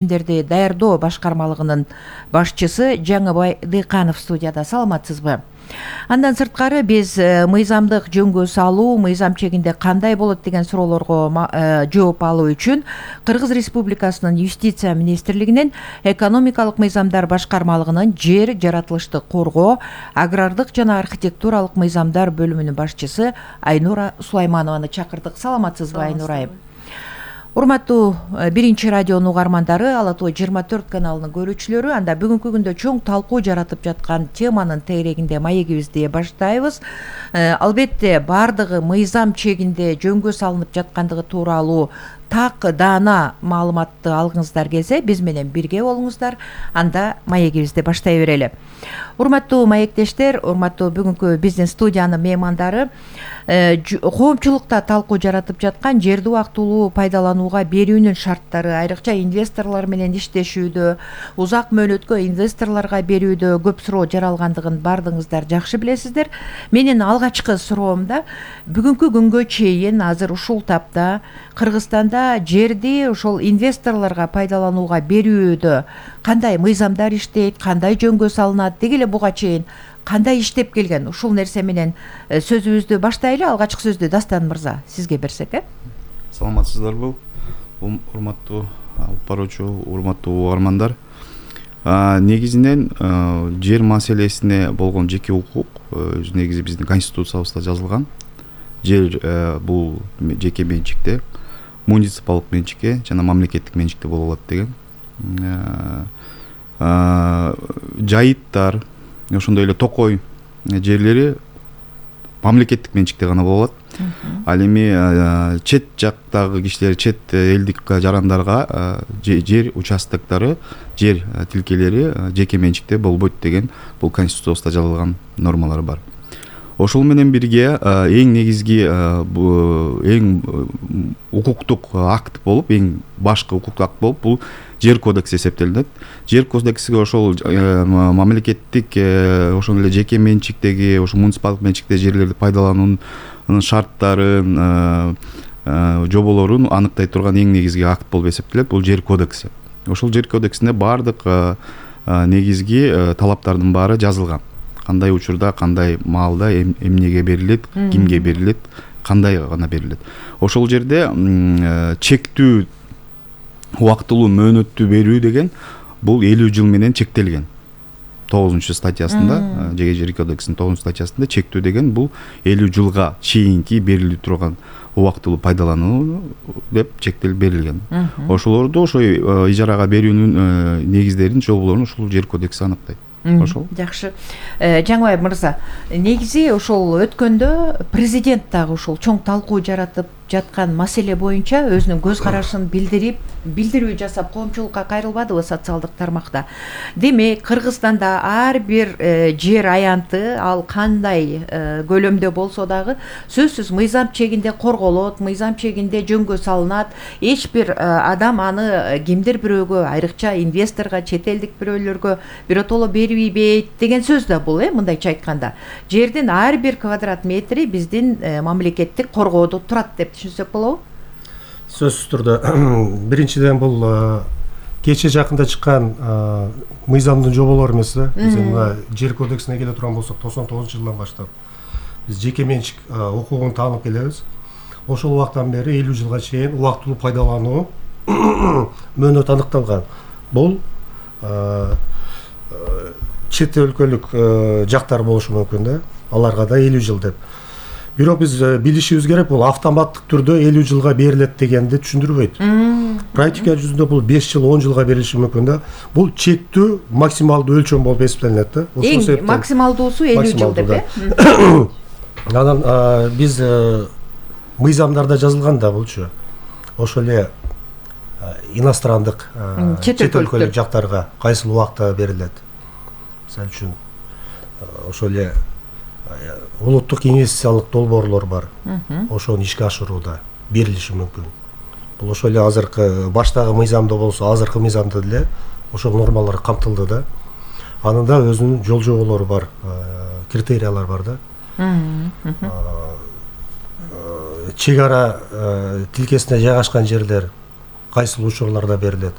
Дерди даярдоо башкармалыгынын башчысы Жаңыбай Дыйканов студияда. Саламатсызбы? Андан сырткары биз мыйзамдык жөнгө салуу, мыйзам чегинде кандай болот деген суроолорго жооп алуу үчүн Кыргыз Республикасынын Юстиция министрлигинин экономикалык мыйзамдар башкармалыгынын жер, жаратылышты коргоо, агрардык жана архитектуралык мыйзамдар бөлүмүнүн башчысы Айнура Сулайманованы чакырдык. Саламатсызбы, Айнура айым? Урматтуу биринчи радионун угармандары, Ала Тоо 24 каналынын көрүүчүлөрү, анда бүгүнкү күндө чоң талкуу жаратып жаткан теманын тегерегинде маегибизди баштайбыз. Албетте баардыгы мыйзам чегинде жөнгө салынып жаткандыгы тууралуу так даана маалыматты алгыңыздар келсе, биз менен бирге болуңуздар. Анда маегибизди баштай берели. Урматтуу маектештер, урматтуу бүгүнкү биздин студиянын меймандары, коомчулукта талкуу жаратып жаткан жерди убактылуу пайдаланууга берүүнүн шарттары, айрыкча инвесторлор менен иштешүүдө, узак мөөнөткө инвесторлорго берүүдө көп суроо жаралгандыгын баардыгыңыздар жакшы билесиздер. Менин алгачкы суроомда бүгүнкү күнгө чейин азыр ушул тапта Кыргызстанда жерди ошол инвесторлорго пайдаланууга берүүдө кандай мыйзамдар иштейт, кандай жөнгө салынат, деги эле буга чейин кандай иштеп келген? Ушул нерсе менен сөзүбүздү баштайлы. Алгачкы сөздү Дастан мырза сизге берсек. Саламатсыздарбы, урматтуу алып баруучу, урматтуу угармандар. Негизинен жер маселесине болгон жеке укук негизи биздин конституциябызда жазылган. Жер бул жеке менчикте, муниципалдык менчикте жана мамлекеттик менчикте боло алат деген. Жайыттар, ошондой эле токой жерлери мамлекеттик менчикте гана боло алат. Ал эми чет жактагы кишилер, чет элдик жарандарга жер участоктору, жер тилкелери жеке менчикте болбойт деген бул конституциябызда жазылган нормалар бар. Ошол менен бирге эң негизги эң укуктук акт болуп, эң башкы укуктук акт болуп бул жер кодекси эсептелинет. Жер кодексиге ошол мамлекеттик, ошол эле жеке менчиктеги, ошол муниципалдык менчикте жерлерди пайдалануунун шарттарын, жоболорун аныктай турган эң негизги акт болуп эсептелет. Бул жер кодекси. Ошол жер кодексинде баардык негизги талаптардын баары жазылган. Кандай учурда, кандай маалда эмнеге берилет, кимге берилет, кандай гана берилет. Ошол жерде чектүү убактылуу мөөнөттү берүү деген бул 50 жыл менен чектелген. 9-статьясында, жер кодексинин 9-статьясында чектүү деген бул 50 жылга чейинки берилип турган убактылуу пайдалануу деп чектелип берилген. Ошолорду ошо ижарага берүүнүн негиздерин, жоболорун ушул жер кодекси аныктайт. Ошол. Жакшы. Жаңыбай мырза, негизи ошол өткөндө президент дагы ушул чоң талкуу жаратып жаткан маселе боюнча өзүнүн көз карашын билдирүү жасап коомчулукка кайрылбадыбы социалдык тармакта. Демек, Кыргызстанда ар бир жер аянты, ал кандай көлөмдө болсо дагы сөзсүз мыйзам чегинде корголот, мыйзам чегинде жөнгө салынат. Эч бир адам аны кимдир бирөөгө, айрыкча инвесторго, чет элдик бирөөлөргө биротоло бербейт деген сөз да бул, мындайча айтканда. Жердин ар бир квадрат метри биздин мамлекеттик коргоодо турат деп түшүнсөк болобу? Сөзсүз түрдө биринчиден бул кече жакында чыккан мыйзамдын жоболору эмес да. Биз мына жер кодексине келе турган болсок, 99-жылдан баштап биз жеке менчик укугун таанып келебиз. Ошол убактан бери 50 жылга чейин убактылуу пайдалануу мөөнөт аныкталган. Бул чет өлкөлүк жактар болушу мүмкүн да, аларга да 50 жыл деп. Бирок биз билишибиз керек, бул автоматтык түрдө 50 жылга берилет дегенди түшүндүрбөйт. Практика жүзүндө бул 5 жыл, 10 жылга берилиши мүмкүн да. Бул чектүү максималдуу өлчөм болуп эсептелинет да. Ошол себептен максималдуусу 50 жыл деп. Анан биз мыйзамдарда жазылган да булчу. Ошол эле инострандык чет өлкөлүк жактарга кайсыл убакта берилет. Мисалы үчүн ошол эле улуттук инвестициялык долбоорлор бар. Ошону ишке ашырууда берилиши мүмкүн. Бул ошол эле азыркы баштагы мыйзамда болсо, азыркы мыйзамда деле ошол нормалар камтылды да. Анын да өзүнүн жол жоболору бар, критериялар бар да. Чек ара тилкесине жайгашкан жерлер кайсыл учурларда берилет.